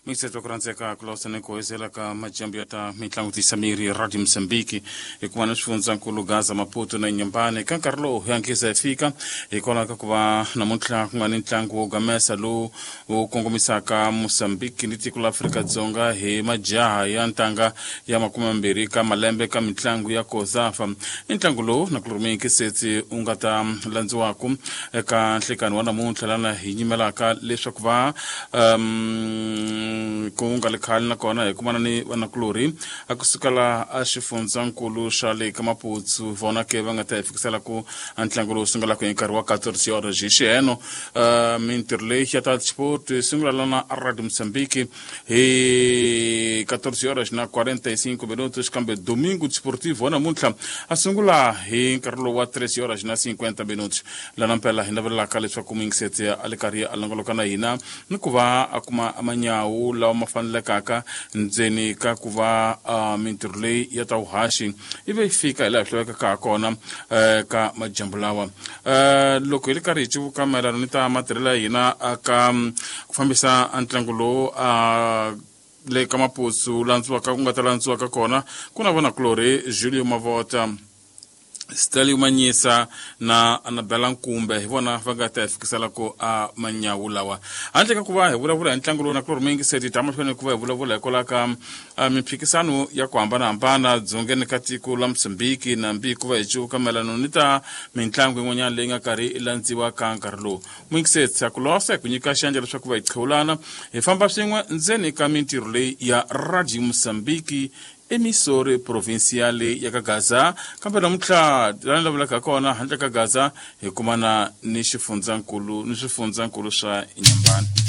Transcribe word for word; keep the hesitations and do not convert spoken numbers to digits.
Mixeto ku rhandzeka ku lawusana ku hezela ka majambu ya ta mitlangu tisa miri Radio Mozambique hikuva na swifundzankulu Gaza, Maputo na Inhambane. Ka nkarhi lowu hi hatlisa hi fika hikwalaho ka ku va namuntlha ku nga ni ntlangu wo gamesa lowu wu kongomisaka Mozambique ni tiko la Afrika-Dzonga hi majaha ya ntanga ya makume mambirhi ka malembe ka mitlangu ya COSAFA. I ntlangu lowu na ku Setsi u nga ta landziwaku eka nhlekani wa namuntlha lana hi nyimelaka leswaku va um, ku nga le khale nakona hi kumana ni vanakulorhi a kusukela a xifundzankulu xa le ka Maputsu vona ke va nga ta hi fikisela ku ntlangu lowu sungulaka hi nkarhi wa quatorze horas hi xiheno. uh, mintirho leyi ya ta sport yi sungula lana a Radio Mozambique hi quatorze horas na quarenta e cinco minutos, kambe domingo desportivo wa namuntlha a sungula hi nkarhi lowu wa treze horas na cinquenta minutos. Lana mpela hi navelelaka leswaku muyingiseti a le karhi a longoloka na hina ni ku va a kuma manyawu lawa ma fanelekaka ndzeni ka ku va uh, mintirho leyi ya ta vuhaxi ivi yi fika hi laha hi lavekaka ha kona uh, ka majambu lawa. uh, loko hi le karhi hi civuka mayelana ni ta matirhelo ya hina ka ku fambisa ntlangu lowu uh, le ka Maputsu landziwaka ku nga ta landziwaka kona ku na vanakulorhi Julio Mavota, Stalio Manyisa na Anabela Nkumbe hi vona va nga ta hi fikisela ku a manyawu lawa. Handle ka ku va hi vulavula hi ntlangu lowu na kulorhi muyingiseti ta mahlweni ku va hi vulavula hikwalaho ka mimphikisano ya ku hambanahambana dzongeni ka tiko la Mozambique nambi ku va hi civuka mayelana ni ta mitlangu yin'wanyana leyi nga karhi yi landziwa ka nkarhi lowu. Muyingiseti a ku losa hi ku nyika xandla leswaku va hi qhewulana hi famba swin'we ndzeni ka mintirho leyi ya Radio Mozambique emissore provinciale ya ka Gaza, kambe namuntlha lani lavulaka kona handle ka Gaza hi kumana ni xifundzankulu ni swifundzankulu swa Inhambane.